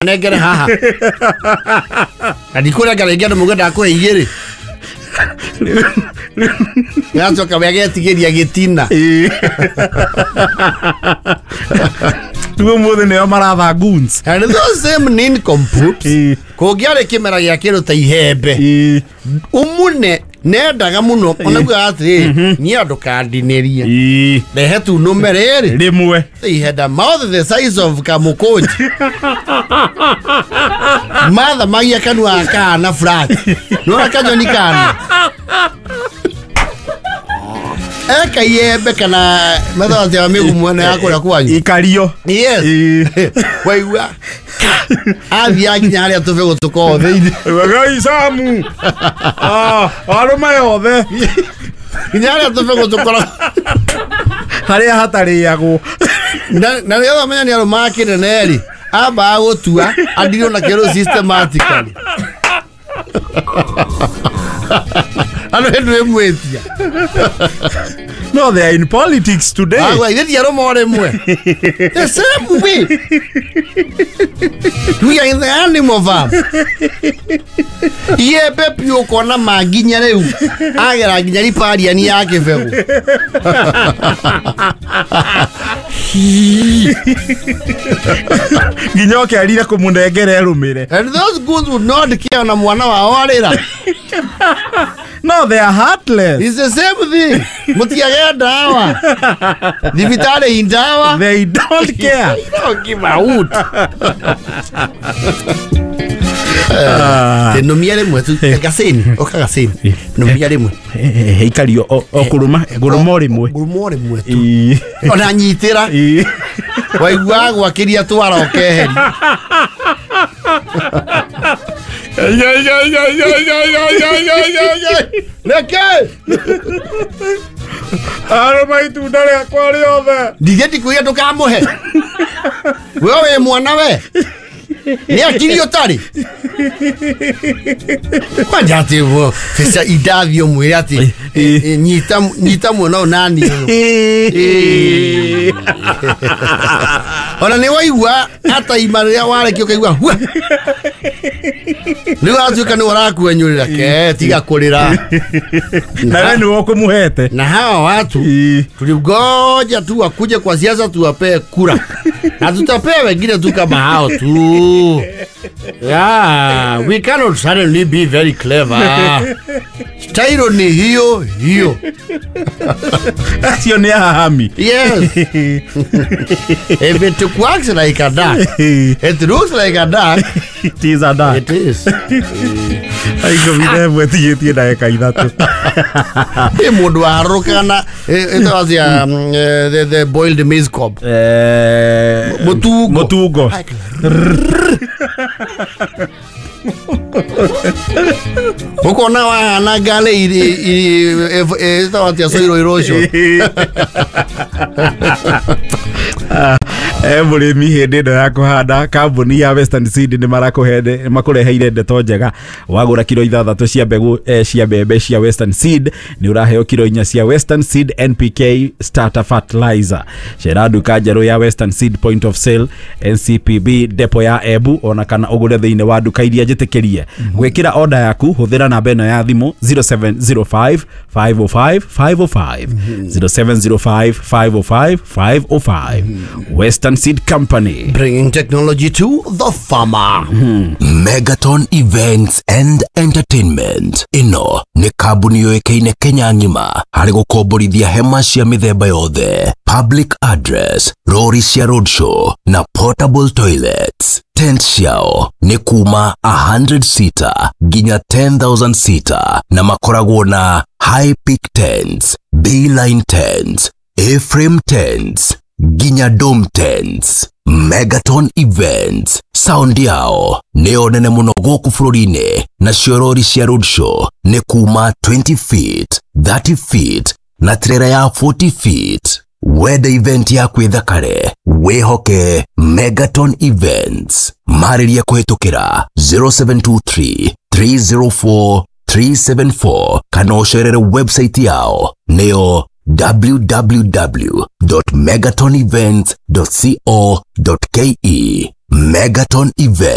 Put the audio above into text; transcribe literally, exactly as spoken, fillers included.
Nengere haha. Na ndikũrengera rĩngĩ andũ mauge ndakũhe igĩrĩ. Gacoka we agetigĩria gĩtina. Tuo mũthĩ nĩo maratha goons. And those same nincompoops kũngĩarĩ kĩmera gĩa kĩndũ ta ihembe umune nendaga mũno onaguo atĩrĩ niĩ andũ kandinĩrie rehe tu nũme rĩrĩ rĩmwe. They had a mouth the size of kamũkũnji. Mathamagia kanua kana flat. Nona kanyoni kana. Eka iembe kana methaga cia mĩgumo ĩno ya kũrĩa kwanyu. Ikario. Yes. Waigua athiaga nginya harĩa tũbegũ tũkoragwo thĩinĩ. Gai Samu. Ah, arũme othe. Nginya harĩa tũbegũ tũkoragwo harĩa hatarĩagwo. Na na rĩothe amenya nĩ arũmaga kĩnene rĩ, ambaga gũtua andirwo na kĩndũ systematically. Andũ hĩndĩ ĩmwĩtia. No, they are in politics today. Ah, well, they are more than the same way. We are in the animal farm. Ye pepi ukona maginya rĩu. Agera nginya ripariani ya kĩbegũ. Nginya ũkerire kũmũnengera erũmĩre. And those goons would not care na mwana wao arĩra. No, they are heartless. It's the same thing. Mutiage dawa. Thibitarĩ ndawa. They don't care. They don't give a hoot. Numia rĩmwe tu gacini, oka gacini. Numia rĩmwe. Ikario o kũrũma, ngũrũma o rĩmwe. Ngũrũma o rĩmwe tu. Ona nyitĩra. Waigua gwakĩria twara ũkeheria. Reke! Arũma itunda rĩakwa rĩothe. Ndigĩ ndikuiga ndũkamũhe. We wĩ mwana we. Nĩ akiri ũtarĩ. Kwanja atĩ feca indathi ũmwĩre atĩ nyita nyita mwana ũyũ nani ũyũ. Ona nĩ waigua ataima rĩrĩa warekio ũkaigua hua. Rĩu atuĩka nĩ ũrakuenyũrĩra ke tiga kũrĩra. Na wewe nĩwe ũkũmũhete. Na hawa watu tulingoja tu wakuje kwa siasa tuwapee kura. Na tutapea wengine tu kama hao tu. Yeah, we cannot suddenly be very clever. Style ni hiyo hiyo. Acio nĩ ahami. Yes. If it works like a duck, it looks like a duck. It is a duck. It is. Ikũmi na ĩmwe tigĩtie ndagĩka ithatũ. Ĩ mũndũ warũkaga na ĩtagwo atĩa the the boiled maize cob. Eh, Mũtungo. Mũtungo. Ũkona wahana ngale ĩtagwo atĩa soil erosion. Eh, mũrĩmi hĩndĩ ĩno ya kũhanda kambuni ya Western Seed nĩ marakũhe makũreheire ndeto njega. Wagũra kiro ithathatũ cia mbegũ eh, cia mbembe cia Western Seed nĩ ũraheo kiro inya cia Western Seed N P K Starter Fertilizer. Cera nduka njerũ ya Western Seed Point of Sale N C P B depo ya Embu ona kana ũgũre thĩinĩ wa nduka iria njĩtĩkĩrie. Gwĩkĩra order yaku hũthĩra namba ĩno ya thimũ zero seven zero five five oh five five oh five zero seven zero five five oh five five oh five. Western Seed Company, bringing technology to the farmer. Mm-hmm. Megaton Events and Entertainment ino nĩ kambuni yũĩkaine Kenya ng'ima harĩ gũkomborithia hema cia mĩthemba yothe, public address, rori cia roadshow na portable toilets. Tent ciao nĩ kuma one hundred seater nginya ten thousand seater na makoragwo na high peak tents, B-line tents, A-frame tents nginya dome tents. Megaton Events sound yao nĩyo nene mũno gũkũ bũrũri-inĩ nacio rori cia roadshow nĩ kuma twenty feet, thirty feet na trailer ya forty feet. Wenda event yaku ĩthakare wĩhoke Megaton Events. Marĩria kũhĩtũkĩra zero seven two three three zero four three seven four kana ũcerere website yao nĩyo w w w dot megaton events dot co dot k e. Megaton Events.